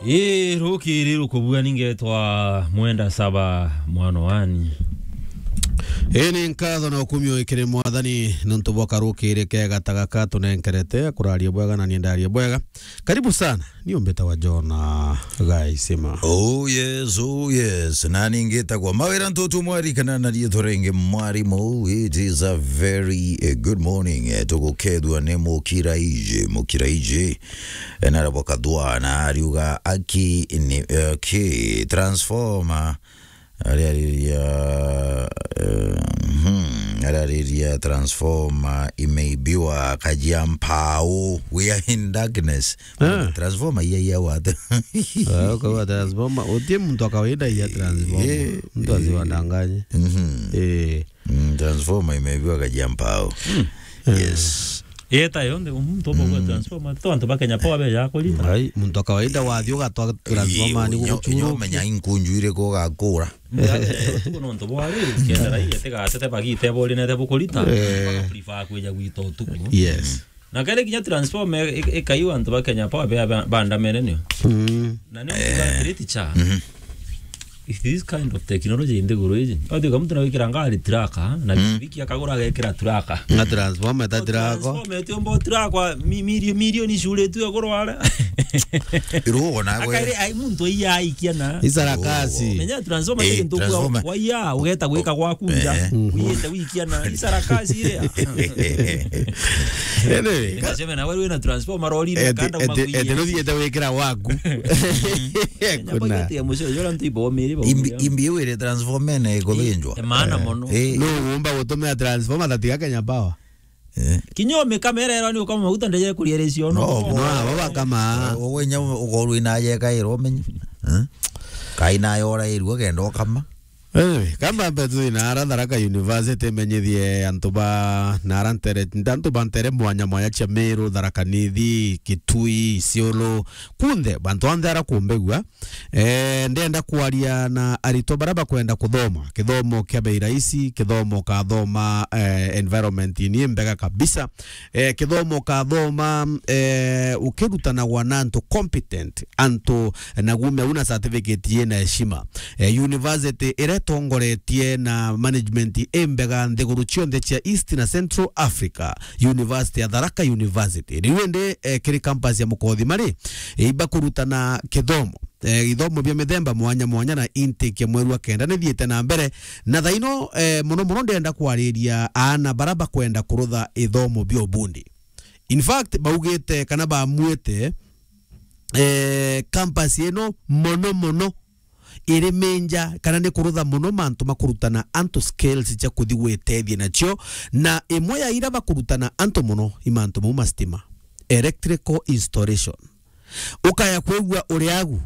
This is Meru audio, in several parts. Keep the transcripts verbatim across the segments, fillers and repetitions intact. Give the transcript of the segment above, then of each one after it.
Ii, rukiri rukubua ningetwa Mwenda Saba mwana wani. Ii, ni nkatho na ukumio ikiri Mwathani nontu bwa karukiri kega ta gaka tunenkerete, akuraria bwega na ni ndaria bwega. Karibu sana. Ni umbita wa Jona Gaisima. Oh yes, oh yes. Na ningitagwa Mawira Ntutu Mwari kana na riitwa ringi Mwarimu. It is a very, eh, good morning. Eh, tugukethua ni Mukiraiji, Mukiraiji. Eh, na arabwa kathwa na ariuga aki ni, eh, ki transformer. Ariariria, eh, mhm, ariariria transformer imeibiwa Kajiampau. We are in darkness. Ah. Transformer iya iya wate. Ah, kwa transformer, utie mtu wa kawaida iya transformer. Eh, mtu asiwadanganye. Mhm. Eh. Mm, transformer imeibiwa Kajiampau. Mm. Yes. Yeta yonthe, muntu obo gwa transformer. To antu ba Kenya Power be ya kurita. Ai, muntu wa kawaida wathi ugatwa transformer ni guchuru. Menya inkunju iri kugakura. Tuko nontu bwa riri, kenda rai, ete gatete bagite bori nete bukurita. Eh. Baka prefer kwija gwita utuku. Yes. Na kere kinya transformer i-, i-, ikaiwa antu ba Kenya Power be ba-, bandamene nio. Mm. Na nio mtu atiriti cha. Mhm. If this kind of technology in the guru iji. Ati ka mtu na wikira ngari traka, na biki akagura agekira traka. Na transformer ta traka. Transformer ti ombo traka, mi-, milio-, milioni cure tu agurwa ara. Irugo na gwe. Akaire ai muntu iya aikia na. Isarakasi. Menya transformer ti kintu kwa, transformer. Kwa iya, ugeta gwika gwaku nja. Eh. Uyete wikia na isarakasi iria. Anyway. Nasema na wewe na transformer rori na kanda ete, ete, ete, ruthiete wikira waku. Kuna. Imbi, imbi iu iri transformer na ikuthinjwa. Ii, maana mono. Eh. No umba gutumira transformer tatiga Kenya Power. Eh. Kinya umikama ira ira ni ukama maguta ndeje kuria ri cio no. No, no, baba kama. Uwe nya ukorwe na yeka iro menye. Eh? Kai na yora irua kenda ukama. Anyway, kamba mbetu ina ara Tharaka University menyithie antu ba na ara ntere, antu ba ntere mwanya mwanya cia Meru, Tharaka Nithi, Kitui, Isiolo, kunthe, bantu onthe ara kumbegua. Eh, ndenda kwaria na aritwa bara bakwenda kuthoma kithomo kia bei rahisi, kithomo kathoma, eh, environment ni mbega kabisa. Eh, kithomo kathoma, eh, ukirutanagwa na antu competent, antu na gume una certificate yina heshima. Eh, university iria itongoretie na management imbega nthiguru cionthe cia East na Central Africa, University ya Tharaka University. Riu indi, eh, kiri campus ya Mukothima ri, eh, ibakurutana kithomo, eh, ithomo bia mithemba mwanya mwanya na intake ya mweri wa kenda nithiite na mbere. Na thaino, eh, mono mono ndenda kwariria aana bara bakwenda kurutha ithomo bia ubundi. In fact, baugite kana bamwite, eh, campus ino mono mono iri minja kana ni kurutha mono mantu ma kurutana antu skills cia kuthi gwitethia nacio, na imwe ya ira bakurutana antu mono i mantu mau ma stima, electrical installation. Ukaya kwigua uri agu,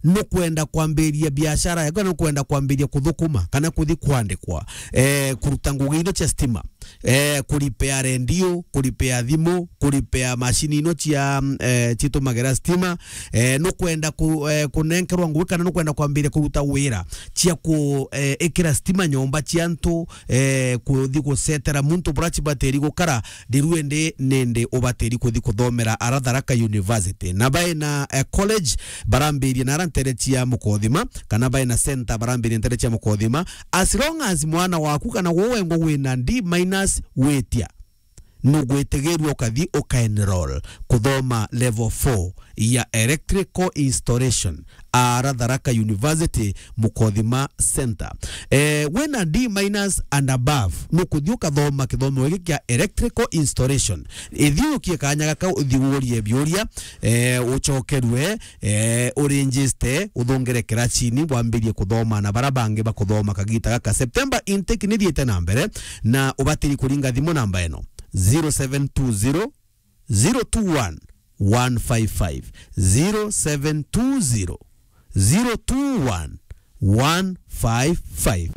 nukwenda kwambiria biashara yaku, kana nukwenda kwambiria kuthukuma, kana kuthi kwandikwa, eh, kuruta ngugi ino cia stima, eh, kuripea rendio, kuripea thimu, kuripea macini ino cia, eh, citumagira stima, eh, nukwenda ku-, eh, kunenkerwa ngugi, kana nukwenda kwambiria kuruta wira cia ku-, eh, ikira stima nyomba cia antu, eh, kuthi gucetera muntu bura cibatiri gukara, riru indi nindi ubatiri kuthi kuthomera ara Tharaka University. Na baina, eh, college barambiria na ara ntere cia Mukothima, kana baina center barambiria ntere cia Mukothima. As long as mwana waku kana we wengwa wina D minus witia, nugwitigirua ukathi ukaenroll kuthoma level four ya electrical installation ara Tharaka University Mukothima Center. Eh, wina D minus and above, nukuthi ukathoma kithomo giki kia electrical installation. Ithiurukie kanya gaka, uthi urie biuria, eh, ucokerue, eh, urinjiste, uthungire kiracini, wambirie kuthoma na bara bangi bakuthoma kagita gaka. September intake nithiite na mbere, na ubatiri kuringa thimu namba ino, zero seven two zero, zero two one, one five five, zero seven two zero, zero two one, one five five.